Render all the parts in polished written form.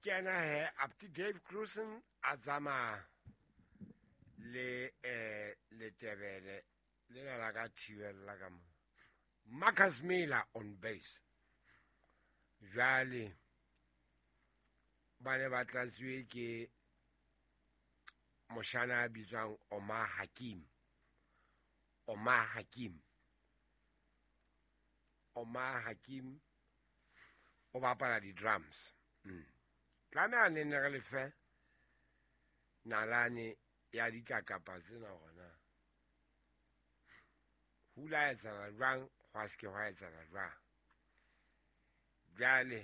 Ke ena he Apti Dave Cruisen a tsamaya le Letebele lena la ka thibella ka mo. Marcus Miller on bass. Jwale ba ne ba tlatsuwe ke moshana a bitswang Omar Hakim. Omar Hakim. Omar Hakim o bapala di-drums. Tlameha ne ne re lefe nalane ya dikakapa tsena gona. Hula etsahala jwang, hwa se ke hwa etsahala jwang. Jwale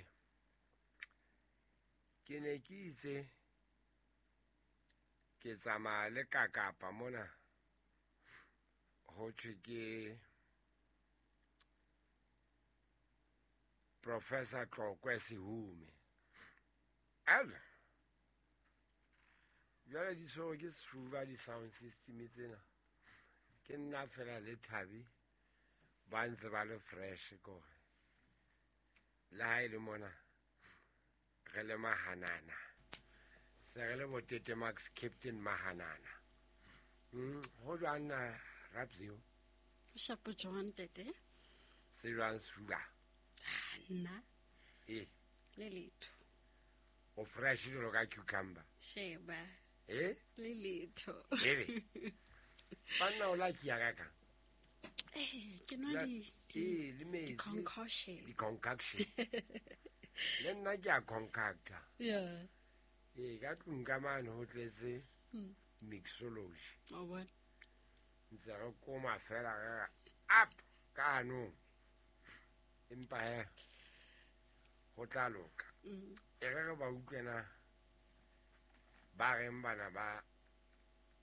ke ne ke itse ke tsamaya le kakapa mona ho thwe ke Professor Tlokwe Sehume. Ela jwale di tshwerwe ke sefuba di-sound system tsena. Ke nna fela le Thabi ba ntse ba le fresh kore le ha e le mona re le mahanana, se re le botete Max Captain Mahanana. Ho jwang na Rapsio? Shapo jwang tete? Se jwang sefuba? Nna. E. Le letho. O fresh jwalo ka cucumber. Sheba. E? Le letho. Ebe. Banna o la kia ka kang? Ke nwa di le metsi. Di-concoction. Di-concoction. Le nna ke a concocta. Yeah. Ee, ka tlung ka mane ho tletse mixology. O bona. Ntse re koma fela re up ka hanong. Empa he ho tla loka. E re re ba utlwena ba reng bana ba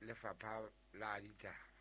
lefapha la ditaba.